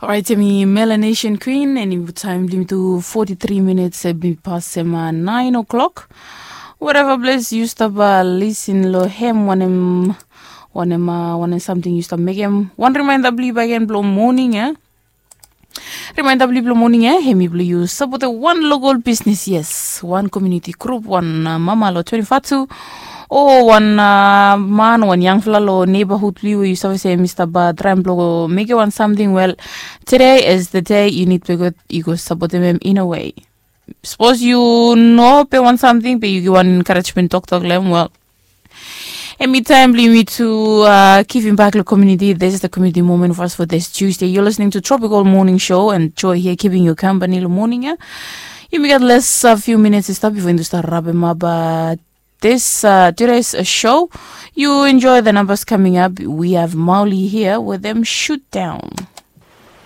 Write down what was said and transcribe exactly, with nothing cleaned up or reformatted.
Orait, em i Melanesian Queen, and i taim blo mi tu forty-three minutes, em i pasem nine o'clock. Whatever place yu stap lisin lo hem, wanem, wanem, wanem samting yu stap mekem. Wan reminder blo yu bagen blo moning, eh? Reminder blo yu blo moning, eh? Hem i blo yu sapotem wan local business, yes. Wan community group, wan uh, mama lo twenty-five tu. O wan uh, man, wan yangfala lo neighborhood blo yu, yu save se mi stap uh, traim blo mekem wan samting, well, today is the day you need to go, you go support them in a way. Suppose you know pe wan something pe you give one encouragement talk talk lem, well, and me time bli me to uh, give him back the community. This is the community moment for us for this Tuesday. You're listening to Tropical Morning Show and Joy here keeping you company in the morning, yeah? You may get less a few minutes to stop before you start wrapping up uh, this uh, today's uh, show. You enjoy the numbers coming up. We have Mauli here with them shoot down.